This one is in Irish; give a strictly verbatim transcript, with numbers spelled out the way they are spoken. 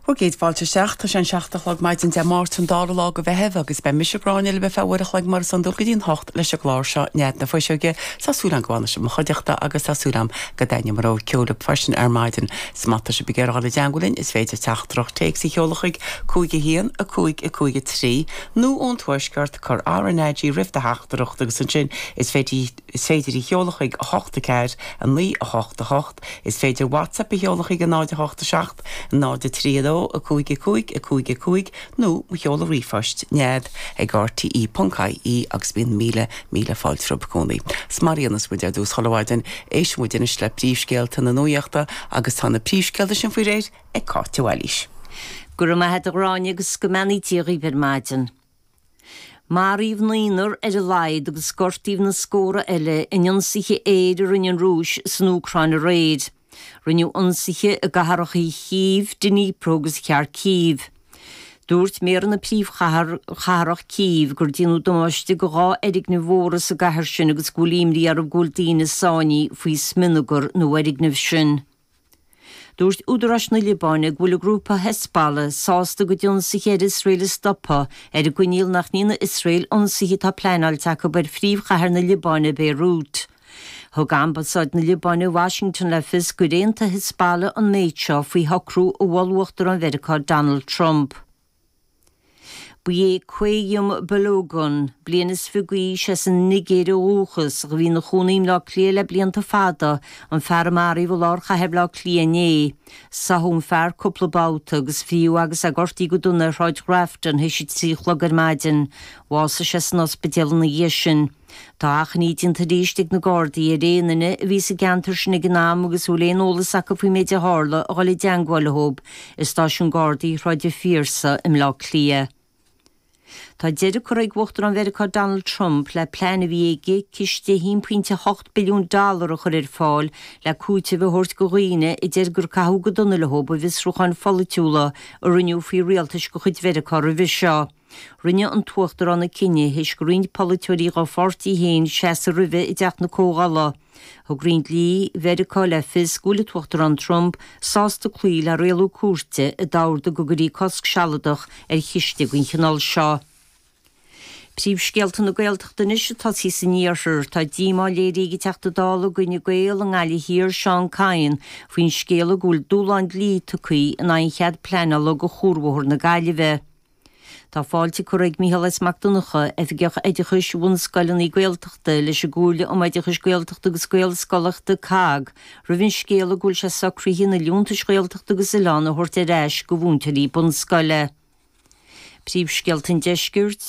Bhur gcéad fáilte isteach tá sé an seacht a chlog maidin Dé Máirt an dara lá de Mheitheamh agus beidh mise Gráinne libh ar feadh uair a chloig mar is iondúil go dtí an hocht leis an gclár seo Nead na Fuiseoige Tá súil agam go bhfanfaidh sibh i mo chuideachta agus tá súil agam go dtaitneoidh mo rogha ceoil libh freisin ar maidin. Is má tá sibh ag iarraidh dul i dteagmháil linn is féidir teachtaireacht téacs a sheoladh chuig cúig a haon a cúig a cúig a trí nó ón tuaisceart cuir RnaG roimh do theachtaireacht agus ansin is féidir is féidir í a sheoladh chuig a hocht a ceathair a naoi a hocht a hocht is féidir WhatsApp a sheoladh chuig a náid a hocht a seacht náid a trí a dó a cúig a cúig a cúig a cúig nó mo sheoladh ríomhphoist nead ag RTE ponc IE agus bíonn míle míle fáilte romhaibh i gcónaí. 'S mar a dhéanas muid ar dtús chuile mhaidin éistfidh muid anois le príomhscéalta na nuachta agus tá na príomhscéalta sin faoi réir ag Cáit Bhailís. Go raibh maith agat a Ghráinne agus go mbeannaí Dia dhaoibh ar maidin. Maraíodh naonúr ar a laghad agus gortaíodh na scórtha eile in ionsaithe aeir a rinne an Rúis san Úcráin aréir. Rinneadh ionsaithe i gcathracha Chív, Dnipro agus Kharkiv. Dúirt méara na príomhchathrach Cív gur déanadh damáiste go dhá fhoirgneamh mhóra sa gcathair sin agus go bhfuil imní orthu go bhfuil daoine sáinnithe faoi smionagar na bhfoirgneamh sin. Dúirt údaráis na Liobáine go bhfuil an grúpa Hezbollah sásta a gcuid ionsaithe ar Iosrael a stopadh ar an gcoinníoll nach ndéanfaidh Iosrael ionsaithe atá pleanáilte acu ar phríomhchathair na Liobáine Beirut. Thug Ambasáid na Liobáine i Washington le fios gur aontaigh Hezbollah an méid seo faoi shocrú a mhol Uachtarán Mheiriceá Donald Trump. Ba é Quayum Balogun, bliain is fiche d'aois as an Nigéir ó dhúchas, a bhí ina chónaí i mBleá Cliath le blianta fada, an fear a maraíodh i lár chathair Bhleá Cliath inné. Sáthadh an fear cúpla babhta agus fríodh agus é gortaithe go dona ar Shráid Grafton théis a trí a chlog ar maidin. Bhásaigh sé san ospidéal ina dhiaidh sin. Tá achainí déanta arís ag na Gardaí ar aon duine a bhí sa gceantar sin ag an am agus a bhfuil aon eolas acu faoin méid a tharla a dhul i dteagmháil leo i stáisiún Gardaí Shráid an Phiarsaigh i mBleá Cliath. Tá deireadh curtha ag Uachtarán Mheiriceá Donald Trump le plean a bhí aige ciste a haon pointe a hocht billiún dollar a chur ar fáil le cúiteamh a thabhairt go dhaoine a deir gur caitheadh go dona leo i bhfiosrúcháin pholaitiúla a rinneadh faoi rialtais de chuid Mheiriceá roimhe seo. Rinne an tUachtarán an cinneadh théis do roinnt polaiteoirí dá pháirtí féin seasamh roimhe i dTeach na Comhdhála. Thug Roinn Dlí Mheiriceá le fios go bhfuil an tUachtarán Trump sásta cloí le rialú cúirte a d'ordaigh go gcuirfí cosc sealadach ar chiste den chineál seo. Príomhscéalta na Gaeltachta anois ag tosaí san iarthar tá díomá léirithe ag an Teachta Dála d'Fhine Gael i nGaillimh Thiar Seán Kyne faoin scéala go bhfuil dúshlán dlí tugtha in aghaidh an chead pleanála do Chuarbhóthar na Gaillimhe. Tá fáilte curtha ag Mícheál S. Mac Donncha, Oifigeach Oideachais Bhunscoileanna Gaeltachta leis an gComhairle um Oideachais Gaeltachta agus Gaelscolaíochta COGG, roimh an scéala go bhfuil sé socraithe na liúntais Ghaeltachta agus Oileán a thabhairt ar ais go mhúinteoirí bunscoile. Príomhscéalta an deiscirt